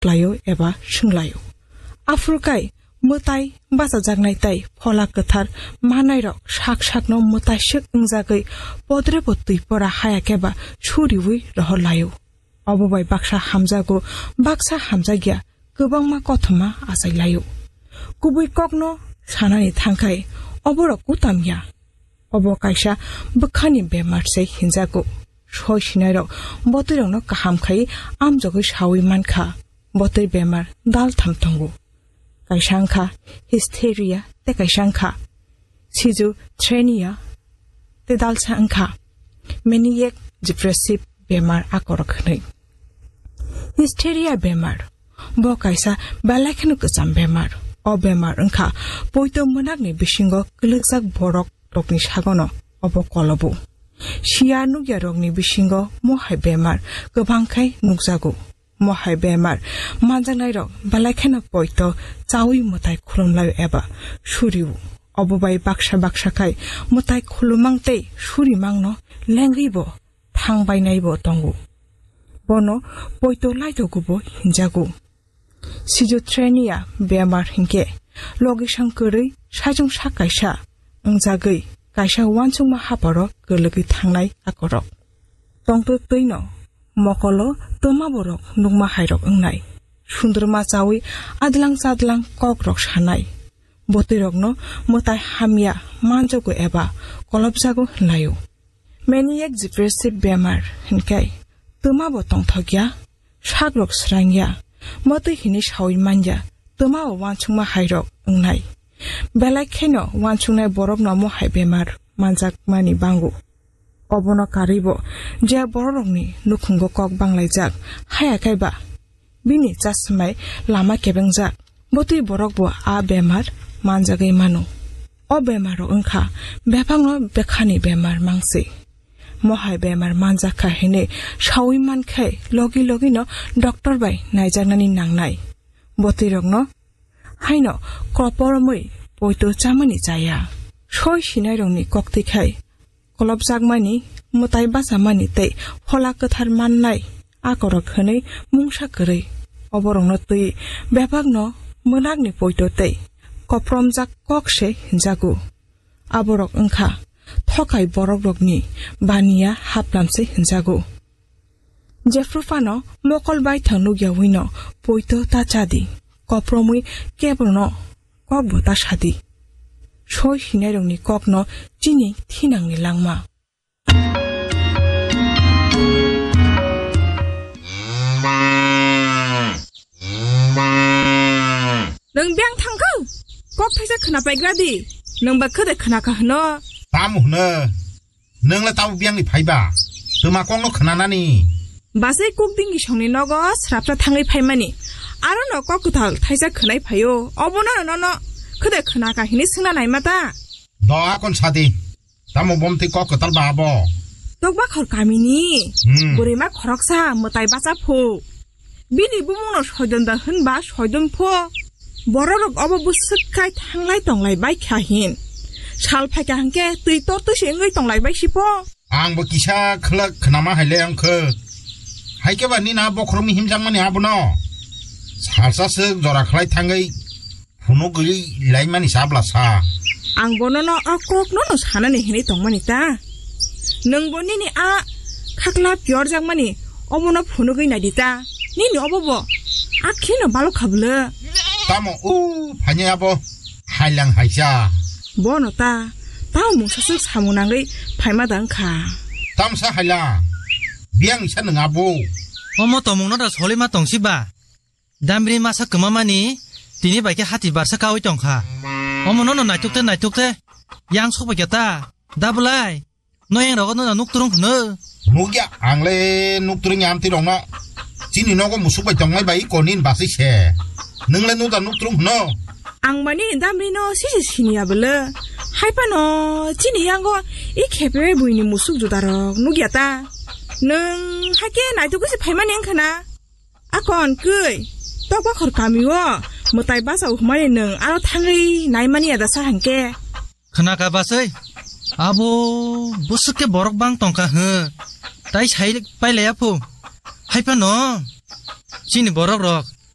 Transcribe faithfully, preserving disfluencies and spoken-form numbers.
klaio eba swnglaio. Aphuru kai mwtai bachajaknai tei phola kwthar manairok sak sakno mwtaiswk wngjagwi podrebo twi pora haya khe ba suriui rohor laio. Obo bai baksa hamjago, baksa hamjakya, kwbangma kothoma achai laio. Kubui kokno sanani thangkhai, oborok kutam ya. Obo kaisa bwkhani bemar se hinjago. Soi sinairok botwirokno kaham khai amjogwi saui mankha. Botwi bemar daltham tongo. Kaisa wngkha hysteria tei kaisa wngkha schizophrenia tei dalsa wngkha maniac depressive bemar akorok hwnwi. Hysteria bemar bo kaisa belai kheno kwcham bemar. O bemar wngkha poito mwnakni bisingo kwlwkjak borok rokni sagono obo kolobo. Siya nukya rokni bisingo mohai bemar kwbang khai nukjago. Mohai bemar manjaknairok belai kheno poito chaui mwtai khulumlaio eba suriu. Obo bai baksa baksa khai mwtai khulumang tei surimangno lengwibo thangbainaibo tongo. Bono poito laitogubo hinjago. Schizophrenia bemar hinkhe logisong kwrwi saichung sak kaisa wngjagwi kaisa uansukma haparo kwlwgwi thangnai akorok. Tongtwtwino mokolo twma borok nukma hairok wngnai. Sundruma chaui adlang chadlang kokrok sanai. Botwirokno mwtai hamya manjago eba kolopjago hwnlaio. Maniac depressive bemar hinkhe twma bo tongthokya, sakrok srangya, motwi hini saui manya, twma bo uansukma hairok wngnai. Belai kheno uansuknai borokno mohai bemar manjakmani bango. Obono karwibo je bororokni nukhungo kok banglaijak, haya kaiba bini chasmai lama kebengjak, botwi borokbo a bemar manjagwi mano. O bemaro wngkha bebakno bekhani bemar mangsi. Mohai bemar manjakha hinwi saui mankhe logi logino doctor bai naijaknani nangnai. Botwirokno haino koporomwi poito chamani chaya. Soi sinairokni koktwi khai kolopjakmani, mwtai bachamani tei phola kwthar mannai akorok hwnwi mungsa kwrwi. Oborokno twi bebakno mwnakni poito tei kopromjak kok se hinjago. Aborok wngkha thokai borokrokni baniya haplam se hinjago. Jephru phano mokol baithang nukya wino poito ta chadi, kopromwi kebono kokbo ta sadi. Soi sinairokni kokno chini thinangni langma. Nwng biyang thangkha? Kok thaisa khna paigra di. Nwng ba khede khna kha hwno? Tamo hwno? Nwng le tamo biyang ni phaiba? Twma kok no khna nani? Basai kuk dingi songni nogo srapsa thangwi phaimani. Aro no kok kwtal thaisa khwnai phaio. Obo no no no khede khna kha hini swngna naima ta? Do akon sadi. Tamo bomtwi kok kwtal ba abo? Tokbakhor kamini Hmm. bwrwima khoroksa mwtai bacha phu. Bini bumungno soidon da hwnba soidon pho. Bororok obo bwswk khai thanglai tonglai bai kha hin. Sal phaikha hwnkhe twi tortwi se wngwi tonglai bai si pho. Ang bo kisa khwlak khnama hai le wngkhe. Hai khe ba nini a bokhorokni himjakmani abono. Salsa swk jora khlai thangwi phunugwi laimani sa bwla sa. Ang bonono o kokno no sanani hinwi tongmani ta. Nwng bo nini a khakla piyorjakmani obono phunugwi naidi ta. Nini obo bo akhino balok kha bwle. Tamo o phainai abo hailang haisa. Bono ta tamo mungsa swk samung nangwi phaima da wngkha. Tamsa hailang. Biyang isa nwng abo. Omo tomungno da solima tongsi ba. Damri masa kwmamani tini bai khe hati barsa kaui tongkha. Omo nono naituk te naituk te. Yang sok bai khe ta. Da bwlai. No yang rogo no nuk turung hwno. Nukya ang le nuk turung ya amtwi rokno. Chini nogo musuk bai tongnai bai konin basui se. Nwng le nuk da nuk turung hwno. Ang mani damri no sisi siniya bwle. Hai phano chini yango i khepe buini musuk juda rok nukya ta. Nwng hai khe naituk se phaimani wngkha na. Akon kwi, tokbakhor kamio mwtai basa uhmani nwng aro thangwi naimani ya da sa hwnkhe? Khna ka basai, abo bwswk khe borok bang tongkha hw, tai sai pailaiya phu. Hai phano chini borok rok